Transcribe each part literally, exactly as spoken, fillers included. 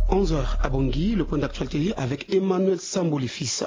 Onze heures à Bangui, le point d'actualité avec Emmanuel Sambo, les fils.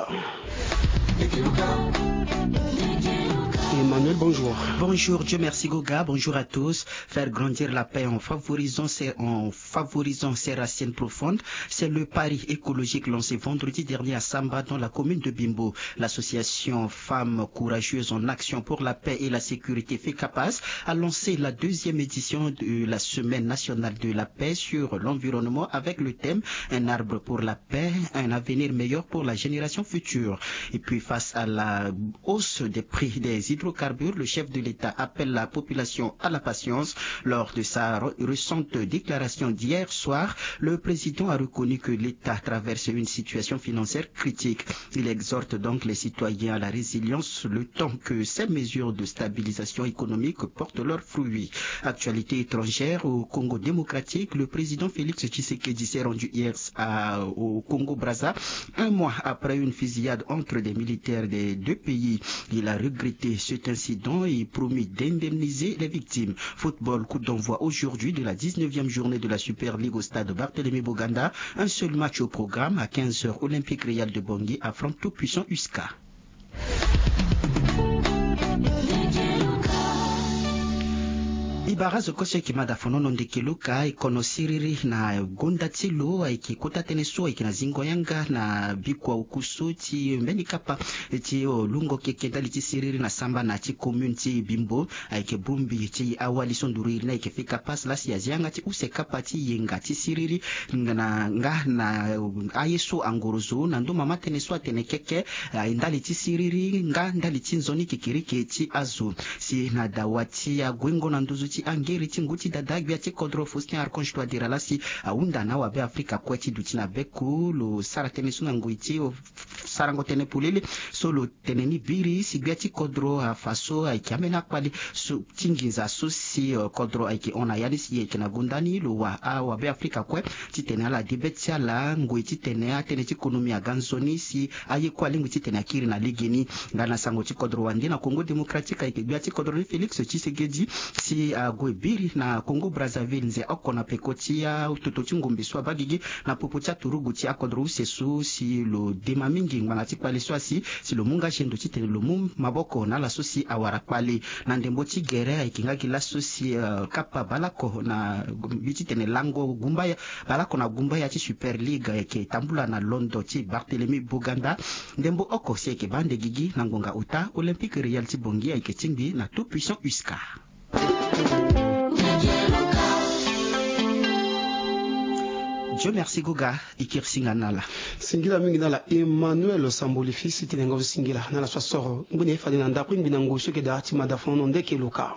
Emmanuel, bonjour. Bonjour, Dieu merci Goga, bonjour à tous. Faire grandir la paix en favorisant ses, en favorisant ses racines profondes, c'est le pari écologique lancé vendredi dernier à Samba, dans la commune de Bimbo. L'association Femmes Courageuses en Action pour la Paix et la Sécurité, FECAPAS, a lancé la deuxième édition de la Semaine nationale de la paix sur l'environnement avec le thème: un arbre pour la paix, un avenir meilleur pour la génération future. Et puis, face à la hausse des prix des hydrocarbures, le chef de l'État appelle la population à la patience. Lors de sa re-, récente déclaration d'hier soir, le président a reconnu que l'État traverse une situation financière critique. Il exhorte donc les citoyens à la résilience le temps que ces mesures de stabilisation économique portent leurs fruits. Actualité étrangère: au Congo démocratique, le président Félix Tshisekedi s'est rendu hier à, au Congo Brazza, un mois après une fusillade entre des militaires des deux pays. Il a regretté cet incident et promis d'indemniser les victimes. Football, coup d'envoi aujourd'hui de la dix-neuvième journée de la Super League au stade Barthélemy Boganda. Un seul match au programme. À quinze heures, Olympique Real de Bangui affronte tout-puissant U S C A. E bara zo kue so e yeke ma da fonono ndeke luka, e kono siriri na gonda ti lo ayeke kota tënë so ayeke na zingo yanga na bikua oku so ti mbeni kapa ti lungo keke ndali ti siriri na samba na ti commune ti Bimbo. Ayeke bongbi ti awali so nduru iri ni ayeke fika pasi laa si azi yanga ti use kapa ti yenga ti siriri na nga na aye so angorozo na ndo mama tënë so atene keke, eh, ndali ti siriri nga ndali ti nzoni kekereke ti azo. Si na dawa ti aguengo na nduzu ti angeri ti ngu ti dada gbia ti kodro Faustin Archange Touadéra laa si ahunda na awabe Afrika kue ti duti na beko lo sara tënë so na ngoi ti sarango tënë polele so lo tene ni biri si gbia ti kodro afa so ayeke ambeni akpale so ti nginza so si, eh, kodro ayeke hon na ya ni si e yeke na gonda ni lo wa awabe Afrika kue titene ala de be ti ala ngoi titene atënë ti konomi aga nzoni si aye kue alingbi titene akiri na legeni. Nga na sango ti kodro wande na Congo Démocratique ayeke gbia ti kodro ni Félix Tshisekedi si ague biri na Congo Brazzaville nze oko na peko ti atoto ti ngombe so abaa gigi na popo ti aturugu ti akodro use so si lo dema mingi ngbanga ti kpale so asi si lo mu nga gendo titene lo mu maboko na ala so si awara kpale. Na ndembo ti gere ayeke nga gi laso si, eh, kapa baleoko na mbi titene lango gumbaya baleoko na gumbaya ti Super League ayeke tambula na londo ti Barthélemy Boganda. Ndembo oko si ayeke baa ande gigi na ngonga ota Olympique Real ti Bangui ayeke tingbi na tout puissant U S C A. Dieu merci Goga, e kiri singa na ala. Singila mingi na ala Emmanuel Samboli fils ti nengo singila na ala so asoro ngbene fade na ndako ngbi na ngoi so yeke daa ti mada fono ndeke luka.